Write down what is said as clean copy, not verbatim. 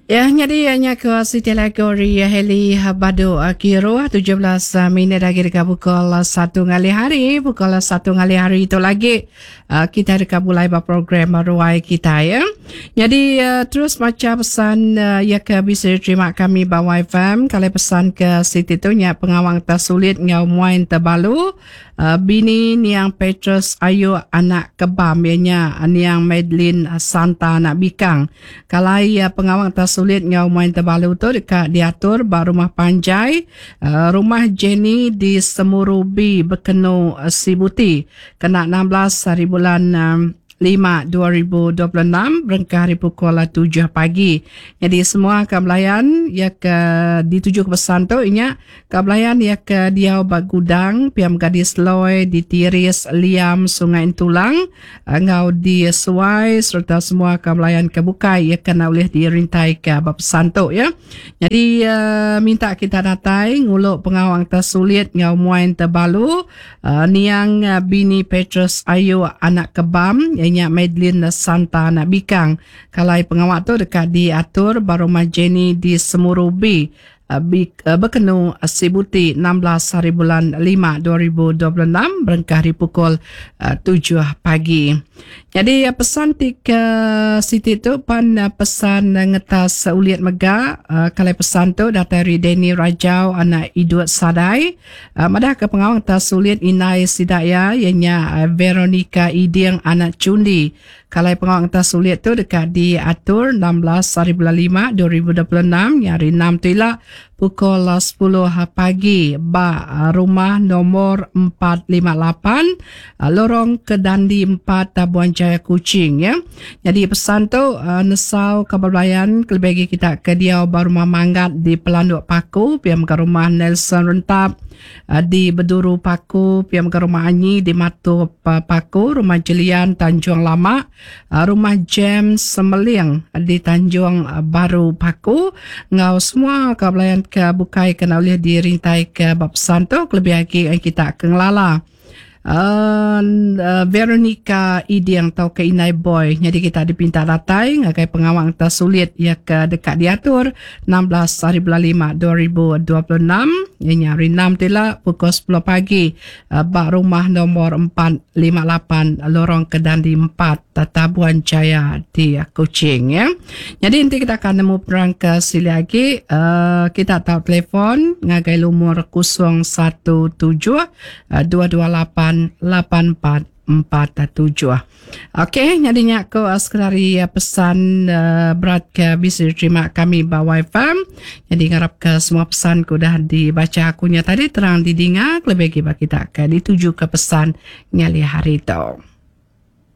Ya nyadi nya ke siti lagu ari Hailey Badu Kiruh 17 minit agi deka pukul 1 ngalih hari pukul 1 ngalih hari tu lagi kita deka bulai ba program ruai kita ya. Nyadi terus macha pesan ya ke bisi diterima kami ba YFM kalai pesan ke siti tu nya pengawang tersulit enggau muai tebalu Bini niang Petrus Ayuk anak Kebam iya nya niang Madeline Santa anak Bikang. Kalai pengawa ngetas sulit enggau main tebalu tu deka diatur ba rumah panjai Rumah Jenny di Semuru B Bekenu Sibuti kena 16 haribulan 5, 2026 berengkah ari pukul 7 pagi. Nyadi semua ka belayan iya ke dituju ke pesan tu inya ka belayan iya ke diau ba Gudang, pia mega di Seloi, di Tiris, Liam, Sungai Entulang enggau di Suai sereta semua ka belayan ke bukai iya ke enda ulih dirintaika ba pesan tu ya. Nyadi minta kita datai ngulu pengawa enta sulit enggau muai enta balu Niang bini Petrus Ayuk anak Kebam iya nya Madeline Santa anak Bikang. Kalai pengawa tu deka diatur ba Rumah Jenny di Semuru B, Bekenu, Sibuti 16 haribulan 5 2026 berengkah ari pukul 7 pagi. Nyadi pesan ti ke siti tu pan pesan ngetas ulit mega. Kalai pesan tu datai ari Danny Rajau anak Idut Sadai. Madah ke pengawa ngetas sulit indai sida iya, iya nya Veronica Iding anak Chundi. Kalai pengawa ngetas sulit tu deka diatur 16 hari bulan 5 2026 nya hari 6 tu ila pukul 10 pagi ba rumah nomor 458 Lorong Kedandi 4 Tabuan Jaya Kuching ya. Nyadi pesan tu nesau kaban belayan kelebih agi kita ke diau ba Rumah Manggat di Pelanduk Paku pia mega Rumah Nelson Rentap di Beduru Paku pia mega Rumah Anyi di Matup Paku, Rumah Jelian Tanjung Lama, Rumah James Semeling di Tanjung Baru Paku enggau semua kaban belayan ke bukai ke enda ulih dirintaika ba pesan tu kelebih agi kita ke ngelala. Veronica Iding tauka Indai Boy nyadi kita dipinta datai ngagai pengawa ngetas sulit iya ke deka diatur 16 hari bulan 5 2026 iya nya hari 6 tu ila pukul 10 pagi ba rumah nombor 458 Lorong Kedandi 4 Tabuan Jaya di Kuching ya. Nyadi enti kita ka nemu penerang ke silik agi kita tau telefon ngagai lumur 017 228 8447. Okey, nyadi nya ko sekali pesan berat ke bisi diterima kami ba WiFi. Nyadi ngarap ke semua pesan ke udah dibaca aku nya tadi terang didinga kelebih agi ba kita ke dituju ke pesan ngalih hari tu.